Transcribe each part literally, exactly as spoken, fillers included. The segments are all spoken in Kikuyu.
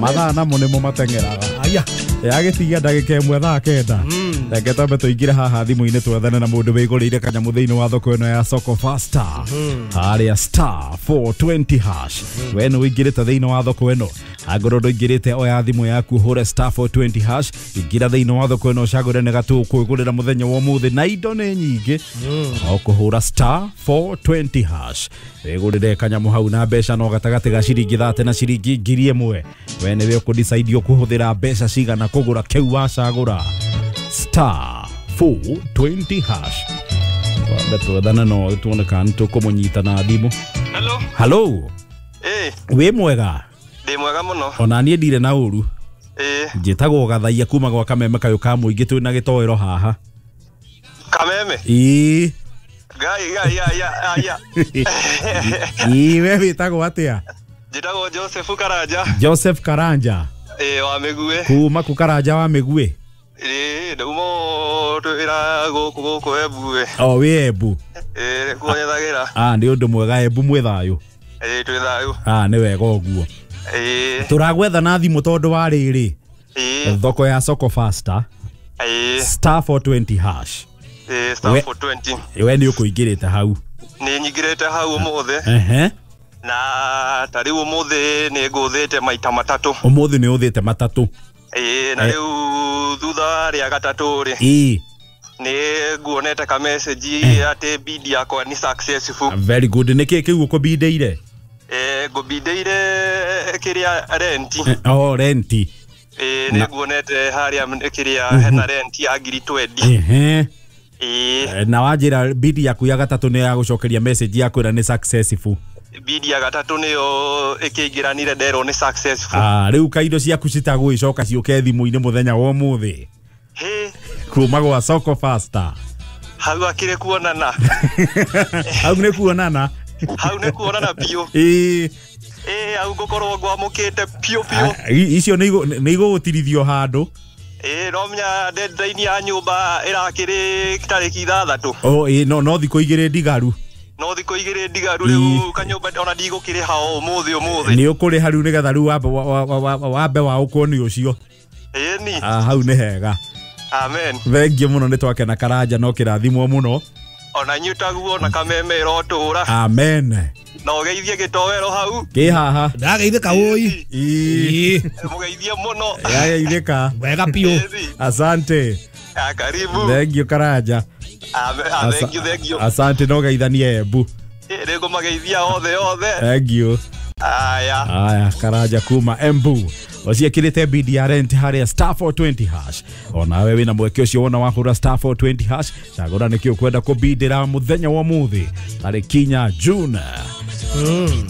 Mathaa namo nĩmo mateng'eraga. Aya. Yagĩtigia ndagĩka ĩmwe thaa kenda. Reke twambe tũingĩre haha thimũ-inĩ twethane na mũndũ wĩgũrĩire kanyamũ thĩinĩ wa thoko ĩno ya Soko Faster. Harĩa star four twenty hash. We nĩ ũingĩrĩte thĩinĩ wa thoko ĩno. Angorwo ndũingĩrĩte oya thimũ yaku ũhũre star four twenty hash. Ingĩra thĩinĩ wa thoko ĩno ũcagũre nĩ gatũkwĩgũrĩra mũthenya wa ũmũthĩ na indo nĩ nyingĩ. O kũhũra star four twenty hash. Wĩgũrĩre kanyamũ hau na mbeca no gatagatĩ ga ciringi thate na ciringi ngiri ĩmwe. We nĩwe ũkũdecide ũkũhũthĩra mbeca cigana kũgũra kĩu wacagũra. Star four twenty hash. Twambe twethane no tuone kana nĩtũkũmũnyita na thimũ. Hello. Hello. Eh. Wĩ mwega? Ndĩ mwega mũno. Ona niĩ ndirĩ na ũru. Eh. Njĩtagwo Gathaia kuma gwa Kameme kayũ ka mũingĩ twĩna gĩtoero haha. Kameme? Ĩĩ. Ngai ngai ya ya. Ĩĩ we wĩtagwo atĩa? Njĩtagwo Joseph Karanja. Joseph Karanja. Eh wa Mĩguĩ. Kuma ku Karanja wa Mĩguĩ? Ĩĩ ndauma twĩra gũkũ gũkũ Embu. O wĩ Embu? Ĩĩ kuo nyethagĩra. Ah nĩ ũndũ mwega Embu mwĩ thayũ. Ĩĩ twĩ thayũ. Ah nĩ wega ũguo. Ĩĩ. Tũragwetha na thimũ tondũ wa rĩrĩ. Ĩĩ. Thoko ya Soko Faster. Ĩĩ. Star four twenty hash. Ĩĩ star four twenty. We nĩ ũkũingĩrĩte hau. Nĩ nyingĩrĩte hau ũmũthĩ. Ehe. Na ta rĩu ũmũthĩ nĩ ngũthĩte maita matatũ. Ũmũthĩ nĩ ũthĩte matatũ. Ĩĩ na rĩu thutha rĩa gatatũ rĩ. Ĩĩ. Nĩ nguonete ka message atĩ bid yakwa nĩ successful. Very good. Nĩ kĩ kĩu ũkũbindĩire? Eh ngũbindĩire kĩrĩa rent. Oh rent. Ĩĩ nĩ nguonete harĩa kĩrĩa hena rent ya ngiri twenty. Ehe. Ĩĩ. Na wanjĩra bid yaku ya gatatũ nĩ ya gũcokeria message ya kwĩra nĩ successful. Bid ya gatatũ nĩyo ĩkĩingĩranire nderwo nĩ successful. Ah rĩu kaindo ciaku citagũgĩcoka ciũke thimũ-inĩ mũthenya wa ũmũthĩ. Hĩ. Kuma gwa Soko Faster. Hau akĩrĩ kuonana. Hau nĩ kuonana. Hau nĩ kuonana biũ. Ĩĩ. Ĩĩ hau ngũkorwo ngwamũkĩte biũ biũ. Icio nĩ igũgũtirithio handũ. Ĩĩ no menya deadline ya nyũmba ĩrakĩrĩ tarĩki ithathatũ. Oh ĩĩ no no thikũ igĩrĩ ndigaru. No thikũ igĩrĩ ndigaru rĩu kanyũmba ona ndigũkĩrĩha o ũmũthĩ ũmũthĩ. Nĩ ũkũrĩha rĩu nĩgetha rĩu wambe wambe waũkwo nĩ ũcio. Ĩĩ ni. Ah hau nĩ hega. Amen. Thengiũ mũno nĩ twakena Karanja no kĩrathimwo mũno. Ona inyuĩ taguo na Kameme ĩrotũra. Amen. Na ũgeithie gĩtoero hau. Kĩ haha. Ndageithĩka ũi. Ĩĩ. Mũgeithie mũno. Yageithĩka. Wega biũ. Asante. Ah karibu. Thengiũ Karanja. Amen, thengiũ thengiũ. Asante no geithanie Embu. Ĩĩ nĩngũmageithia othe othe. Thengiũ. Aya. Aya Karanja kuma Embu. Ociĩkĩrĩte bid ya rent harĩa star four twenty hash. Onawe wĩna mweke ũcio wona wahũra star four twenty hash. Cagũra nĩkĩ ũkwenda kũbindĩra mũthenya wa ũmũthĩ tarĩki inya June. Mm.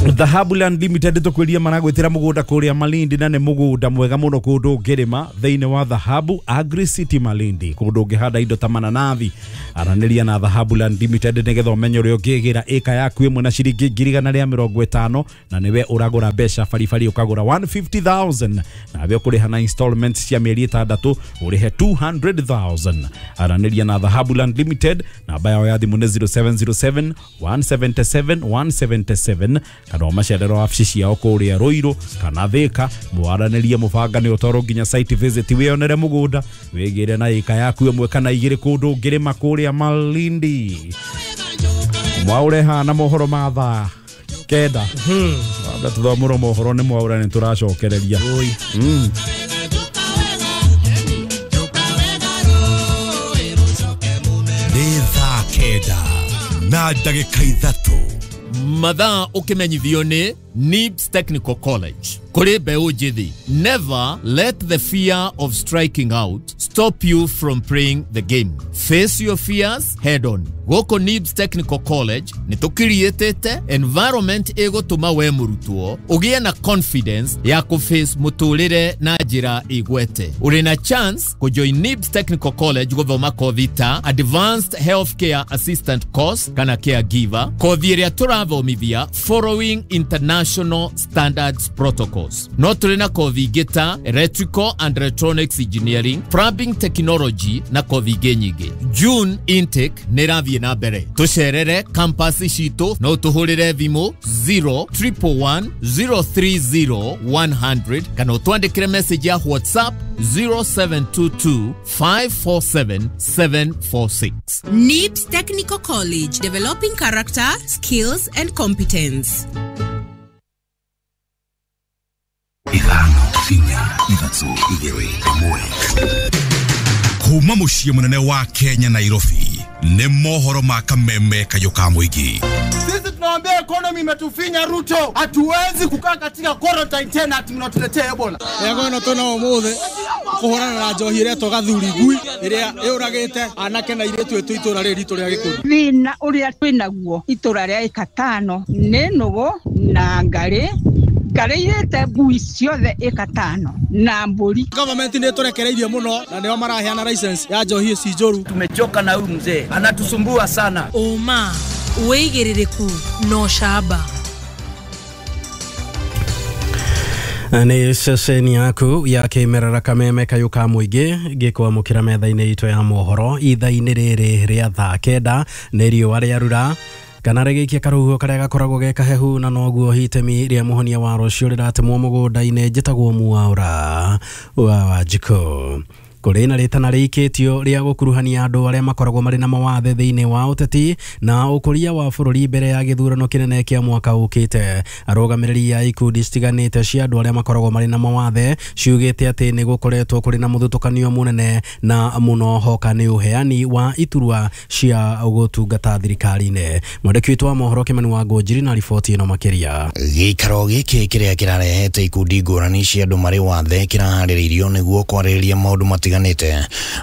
Dhahabu Land Limited tũkwĩria maragwĩtĩra mũgũnda kũrĩa Malindi na nĩ mũgũnda mwega mũno kũndũ ũngĩrĩma thĩinĩ wa Dhahabu Agri City Malindi kũndũ ũngĩhanda indo ta mananathi. Aranĩria na Dhahabu Land Limited nĩgetha ũmenye ũrĩa ũngĩgĩra ĩka yaku ĩmwe na ciringi ngiri igana rĩa mĩrongo ĩtano na nĩwe ũragũra mbeca baribari ũkagũra one fifty thousand nawe ũkũrĩha na installments cia mĩeri ĩtandatũ ũrĩhe two hundred thousand. Aranĩria na Dhahabu Land Limited namba yao ya thimũ nĩ zero seven zero seven one seven seven one seven seven kana macerero wabici ciao kũrĩa Ruiru kana Thika. Mwaranĩrie mũbangane ũtwarwo nginya site visit wĩonere mũgũnda wĩgĩre na ĩka yaku ĩmwe kana igĩrĩ kũndũ ũngĩrĩma kũrĩa Malindi. Mwaure hana mohoro ma thaa kenda. Wambe tũthomũrwo mohoro nĩ Mwaure nĩ tũracokereria. Mm. Nĩ thaa kenda na ndagĩka ithatũ. Mathaa ũkĩmenyithio nĩ Nibs Technical College. Kũrĩ mbeũ njĩthĩ, never let the fear of striking out stop you from playing the game. Face your fears head on. Gũkũ Nibs Technical College nĩ tũkiriĩtĩte environment ĩgũtũma we mũrutwo ũgĩe na confidence ya kũface mũtũrĩre na njĩra ĩgwete. Ũrĩ na chance kũjoin Nibs Technical College gũthoma kothi ta Advanced Healthcare Assistant Course kana Caregiver, kothi ĩrĩa tũrathomithia following international International Standards Protocols. No tũrĩ na kothi ingĩ ta Electrical and Electronics Engineering, Plumbing Technology na kothi ingĩ nyingĩ. June intake nĩ ĩrathiĩ na mbere. Tũcerere campus citũ no tũhũrĩre thimũ zero triple one zero three zero one hundred kana ũtwandĩkĩre message ya WhatsApp zero seven two two five four seven seven four six. N I B S Technical College, developing character, skills and competence. Ithano, inya, ithatũ, igĩrĩ, ĩmwe. Kuma mũciĩ mũnene wa Kenya Nairobi, nĩ mohoro ma kameme kayũ ka mũingĩ. Sisi tunawaambia economy imetufinya Ruto, hatuwezi kukaa katika quarantine tena ati mnatuletea Ebola. Yego no tuna umuthi kuhurana na njohi iretwo gathuri ngui iria yuragite anake na iretu itu itura riri ritu ria gikundi. Thina uria twinaguo itura ria ikatano ni nugu na ngari ngari ngui ciothe ikatano na mburi. Government ni turekereirie muno na nio maraheana license ya njohi ici njuru. Tumechoka na huyu mzee, anatusumbua sana. Uma wĩigĩrĩrĩku no camba. Nĩ ceceni yaku ya kĩmerera kameme kayũ ka mũingĩ gĩkwamũkĩra metha-inĩ itũ ya mohoro ithaa-inĩ rĩrĩ rĩa thaa kenda nĩ riũa rĩarura kana rĩgĩikia karũhuho karĩa gakoragwo ge kahehu na noguo itemi rĩa mũhonia wa rũciũ rĩratemwo mũgũnda-inĩ. Njĩtagwo Mwaura wa Wanjikũ. Kũrĩ na rĩtana rĩikĩtio rĩa gũkuruhania andũ arĩa makoragwo marĩ na mawathe thĩinĩ wa ũteti na ũkũria wa bũrũri mbere ya gĩthurano kĩnene kĩa mwaka ũkĩte. Arũgamĩrĩri a ikundi citiganĩte cia andũ arĩa makoragwo marĩ na mawathe ciugĩte atĩ nĩ gũkoretwo kũrĩ na mũthutũkanio mũnene na mũno hoka nĩ ũheani wa iturwa cia gũtungata thirikari-inĩ. Mwandĩki witũ wa mohoro Kĩmani wa Ngũnjiri na riboti ĩno makĩria. Gĩikaro gĩkĩ kĩrĩa kĩrarehete ikundi ngũrani cia andũ marĩ wathe kĩraharĩrĩirio nĩguo kwarĩrĩria maũndũ matiganĩte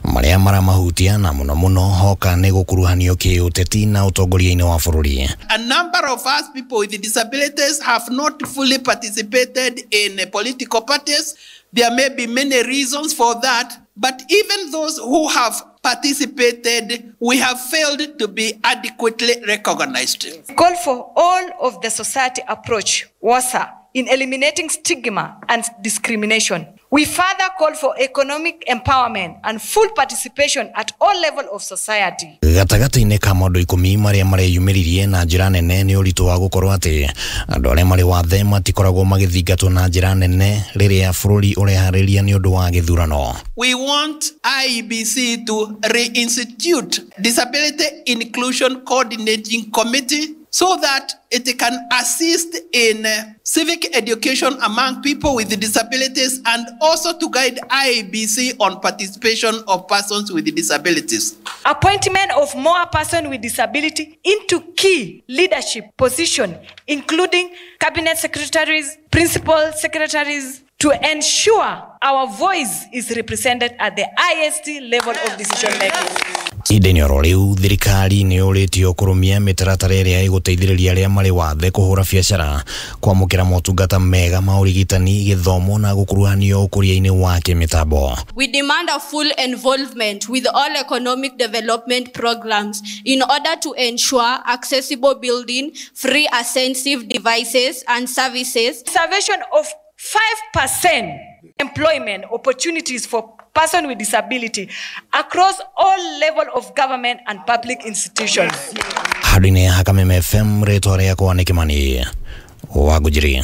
maria maramahutia na muno muno hoka nĩ gũkuruhanio kĩũteti na ũtongoria-inĩ wa bũrũri. A number of us people with disabilities have not fully participated in political parties. There may be many reasons for that, but even those who have participated, we have failed to be adequately recognized. Call for all of the society approach, WASA, in eliminating stigma and discrimination. We further call for economic empowerment and full participation at all levels of society. Gatagatĩ-inĩ ka maũndũ ikũmi marĩa mareyumĩririe na njĩra nene nĩ ũritũ wa gũkorwo atĩ andũ arĩa marĩ wathe matikoragwo magĩthingatwo na njĩra nene rĩrĩa bũrũri ũreharĩria nĩ ũndũ wa gĩthurano. We want I E B C to reinstitute Disability Inclusion Coordinating Committee so that it can assist in civic education among people with disabilities and also to guide I E B C on participation of persons with disabilities. Appointment of more persons with disability into key leadership positions, including cabinet secretaries, principal secretaries, to ensure our voice is represented at the highest level of decision making. Ihinda-inĩ oro rĩu thirikari nĩ yũrĩtio kũrũmia mĩtaratara ĩrĩa ĩgũteithĩrĩria arĩa marĩ wathe kũhũra biacara, kwamũkĩra motungata mega ma ũrigitani, gĩthomo na gũkuruhanio ũkũria-inĩ wa kĩmĩtambo. We demand a full involvement with all economic development programs in order to ensure accessible building, free ascensive devices and services. Reservation of five percent employment opportunities for persons with disability across all levels of government and public institutions. Handũ-inĩ ha Kameme F M rĩtwa rĩakwa nĩ Kĩmani wa Ngũnjiri.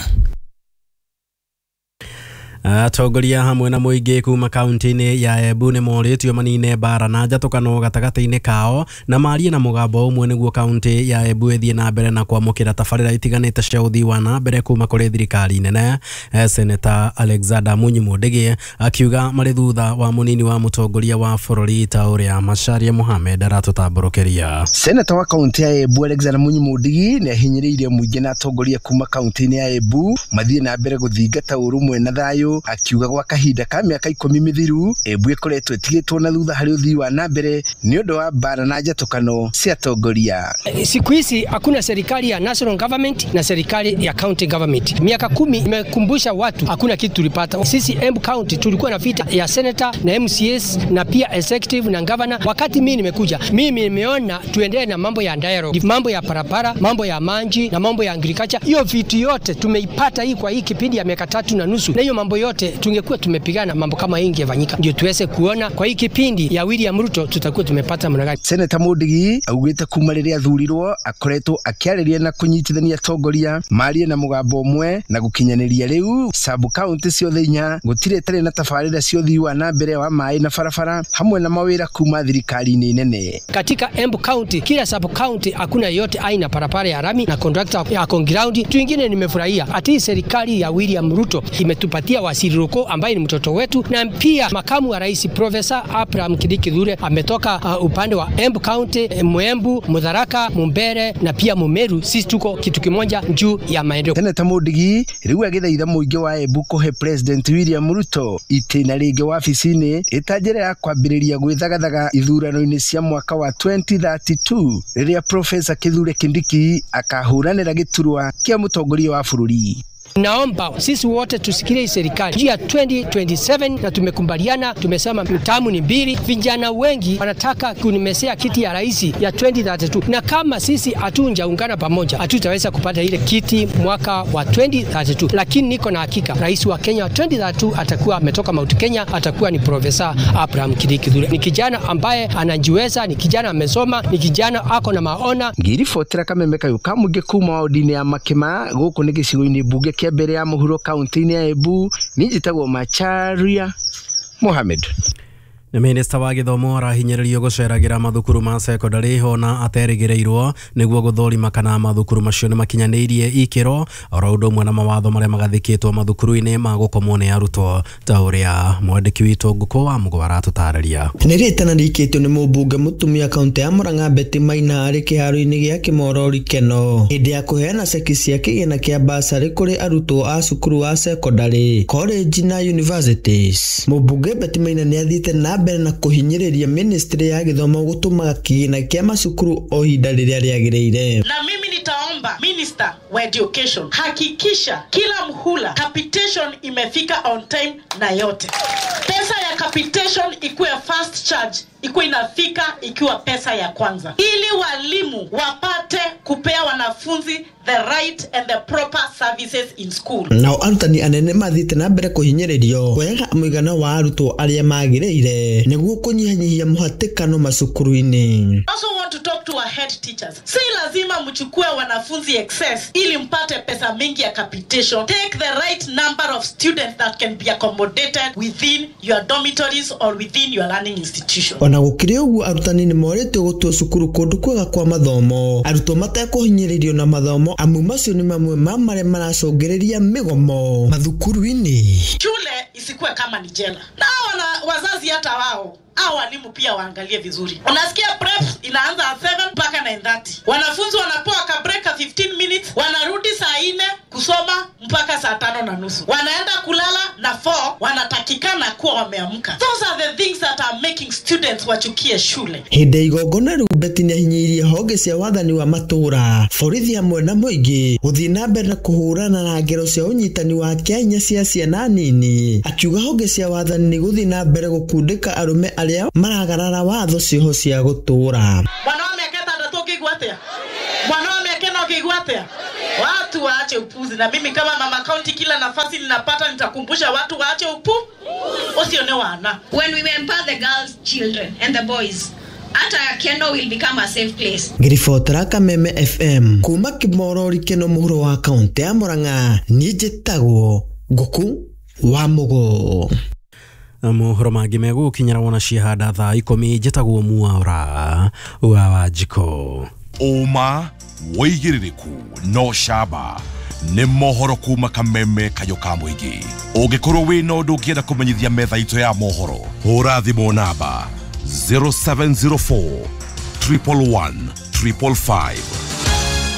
Atongoria hamwe na mũingĩ kuma kaunti-inĩ ya Embu nĩ morĩtio manine mbara na njatũkano gatagatĩ-inĩ kao na marie na mũgambo ũmwe nĩguo kaunti ya Embu ĩthiĩ na mbere na kwamũkĩra tabarĩra itiganĩte cia ũthii wa na mbere kuma kũrĩ thirikari nene. Seneta Alexander Munyi Mundigi akiuga marĩ thutha wa mũnini wa mũtongoria wa bũrũri ta ũrĩa Macharia Mohamed aratũtambũrũkĩria. Seneta wa kaunti ya Embu Alexander Munyi Mundigi nĩ ahinyĩrĩirie mũingĩ na atongoria kuma kaunti-inĩ ya Embu mathiĩ na mbere gũthingata ũrũmwe na thayũ Meru akiuga gwa kahinda ka mĩaka ikũmi mĩthiru Embu ĩkoretwo ĩtigĩtwo na thutha harĩ ũthii wa na mbere nĩ ũndũ wa mbara na njatũkano cia atongoria. Siku hizi hakuna serikali ya national government na serikali ya county government. Miaka kumi imekumbusha watu hakuna kitu tulipata. Sisi Embu County tulikuwa na vita ya senator na M C S na pia executive na governor. Wakati mimi nimekuja, mimi nimeona tuendelee na mambo ya dialogue, mambo ya parapara, mambo ya manji na mambo ya agriculture. Hiyo vitu yote tumeipata hii kwa hii kipindi ya miaka tatu na nusu. Na hiyo mambo yote tungekuwa tumepigana mambo kama hii ingefanyika. Ndio tuweze kuona kwa hii kipindi ya William Ruto tutakuwa tumepata mna gani. Senator Mundigi augite kuma riria athurirwo akoretwo akiarĩria na kũnyitithania atongoria marie na mũgambo ũmwe na gũkinyanĩria rĩu sub county ciothe inya gũtirĩ ĩtarĩ na tabarĩra cia ũthii wa na mbere wa maĩ na barabara hamwe na mawĩra kuma thirikari-inĩ nene. Katika Embu County kila sub county hakuna yote aina barabara ya rami na contractor ya on ground. Tuingine nimefurahia ati serikali ya William Ruto imetupatia Wasiri Roko ambaye ni mtoto wetu, na pia makamu wa rais Professor Abraham Kindiki Kithure ametoka uh, upande wa Embu County, Mwembu, Mutharaka, Mumbere na pia Mumeru. Sisi tuko kitu kimoja juu ya maendeleo. Senator Mundigi rĩu agĩthaitha mũingĩ wa Embu kũhe President William Ruto itĩna rĩngĩ wabici-inĩ ĩta njĩra ya kwambĩrĩria gwĩthagathaga ithurano-inĩ cia mwaka wa twenty thirty-two rĩrĩa Professor Kithure Kindiki akahũranĩra gĩturwa kĩa mũtongoria wa bũrũri. Naomba sisi wote tusikilie serikali ya twenty twenty-seven, na tumekubaliana, tumesema mtamu ni mbili. Vijana wengi wanataka kunimesea kiti ya rais ya twenty thirty-two, na kama sisi hatunjaungana pamoja hatutaweza kupata ile kiti mwaka wa twenty thirty-two. Lakini niko na hakika rais wa Kenya wa twenty thirty-two atakuwa ametoka Mount Kenya, atakuwa ni Professor Abraham Kindiki Kithure. Ni kijana ambaye anajiweza, ni kijana amesoma, ni kijana ako na maona. Ngiribotera kameme kayu kamũingĩ kuma wodi-inĩ ya Makima gũkũ nĩ gĩcigo-inĩ mbunge kĩa mbere ya mũhuro kaunti-inĩ ya Embu. Niĩ njĩtagwo Macharia Mohamed. Nĩ minista wa gĩthomo arahinyĩrĩrio gũceragĩra mathukuru ma sekondari ona aterĩgĩrĩirwo nĩguo gũthũrima kana mathukuru macio nĩ makinyanĩirie ikĩro oro ũndũ ũmwe na mawatho marĩa magathĩkĩtwo mathukuru-inĩ ma gũkomwo nĩ arutwo ta ũrĩa mwandĩki witũ Ngũkũ wa Mũgo aratũtarĩria. Nĩ rĩtana rĩikĩtio nĩ mũmbunge mũtumia kaunti ya Murang'a Betty Maina arĩ kĩharo-inĩ gĩa Kĩmorori Keno hĩndĩ ya kũheana ceki cia kĩgĩna kĩa basarĩ kũrĩ arutwo a cukuru wa sekondari, college na universities. Mũmbunge Betty Maina nĩ athiĩte na mbere na kũhinyĩrĩria ministry ya gĩthomo gũtũmaga kĩgĩna kĩa macukuru o ihinda rĩrĩa rĩagĩrĩire. Na mimi nitaomba Minister wa Education, hakikisha kila mhula capitation imefika on time na yote. Pesa ya capitation ikuwe first charge, ikuwe inafika ikiwa pesa ya kwanza, ili walimu wapate kupea wanafunzi the right and the proper services in school. Nao arutani anene mathiĩte na mbere kũhinyĩrĩrio kuoyaga mũigana wa arutwo arĩa magĩrĩire nĩguo kũnyihanyihia mũhatĩkano macukuru-inĩ. Also want to talk to our head teachers. Si lazima mchukue wanafunzi excess ili mpate pesa mingi ya capitation. Take the right number of students that can be accommodated within your dormitories or within your learning institution. Ona gũkĩrĩ ũguo arutani nĩ morĩtio gũtua cukuru kũndũ kwega kwa mathomo arutwo matekũhinyĩrĩrio na mathomo amu macio nĩ mamwe ma marĩa maracũngĩrĩria mĩgomo mathukuru-inĩ. Shule isikuwe kama ni jela. Na wana wazazi hata wao au walimu pia waangalie vizuri. Unasikia prep inaanza at seven mpaka nine thirty. Wanafunzi wanapewa ka break ya fifteen minutes, wanarudi saa nne kusoma mpaka saa tano na nusu. Wanaenda kulala na four, wanatakikana kuwa wameamka. Those are the things that are making students wachukie shule. Hĩndĩ igongona rĩu Betty nĩahinyĩrĩirie honge cia wathani wa matũũra, borithi hamwe na mũingĩ gũthiĩ na mbere na kũhũrana na ngero cia ũnyitani wa kĩahinya cia ciana nini, akiuga honge cia wathani nĩ gũthiĩ na mbere gũkundĩka arũme arĩa maragarara watho cioho cia gũtũũra. Mwana wa mĩaka ĩtandatũ ũngĩigua atĩa? Mwana wa mĩaka ĩna ũngĩigua atĩa? Watu waache upuzi, na mimi kama mama county kila nafasi ninapata nitakumbusha watu waache upu. Usione wana. When we empower the girls, children and the boys, hata Keno will become a safe place. Ngiribotera Kameme F M kuma Kĩmorori Keno mũhuro wa kaunti ya Murang'a, niĩ njĩtagwo Ngũkũ wa Mũgo. Mohoro mangĩ megũkinyĩra wona ciahanda thaa ikũmi. Njĩtagwo Mwaura wa Wanjikũ. Ũma wĩigĩrĩrĩku no camba nĩ mohoro kuma Kameme kayũ ka mũingĩ. Ũngĩkorwo wĩna ũndũ ũngĩenda kũmenyithia metha itũ ya mohoro, hũra thimũ namba zero seven zero four triple one triple five.